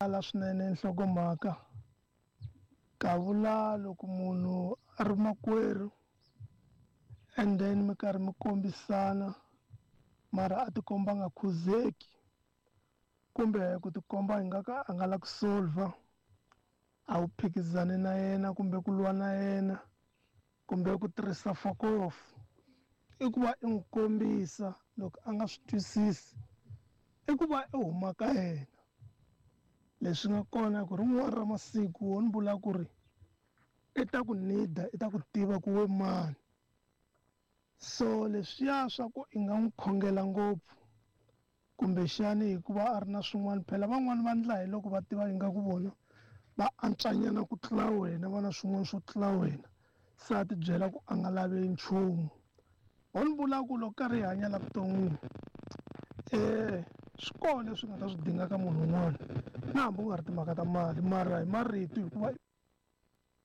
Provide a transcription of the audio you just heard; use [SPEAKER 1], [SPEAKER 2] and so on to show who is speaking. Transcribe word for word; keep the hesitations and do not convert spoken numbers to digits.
[SPEAKER 1] Ala swinene nhlokomhaka kavula loko munhu a ri makwerhu and then mi karhi mi kombisana mara a tikomba a nga khuzeki kumbe ku tikomba hi nga ka a nga la ku solver a wu phikizani na yena kumbe ku lwa na yena kumbe ku tirhisa fokofu i ku va i n'wi kombisa loko a nga swi twisisi i ku va i huma ka yena. Leswi nga kona ku rin'wana ra masiku wo ni vula ku ri i ta ku nida i ta ku tiva ku we mani. So leswiya swa ku i nga n'wi khongela ngopfu kumbexani hikuva a ri na swin'wana phela van'wani va ndla hi loko va tiva ingaku vona va antswanyana ku tlula wena va na swin'wana swo tlula wena se a ti byela ku a nga lavi nchumu. Ho ni vula ku loko karhi hi hanya la vuton'wini um swi kona leswi nga ta swi dinga ka munhu un'wana na hambi ku nga ri timhaka ta mali mara hi marito hikuva.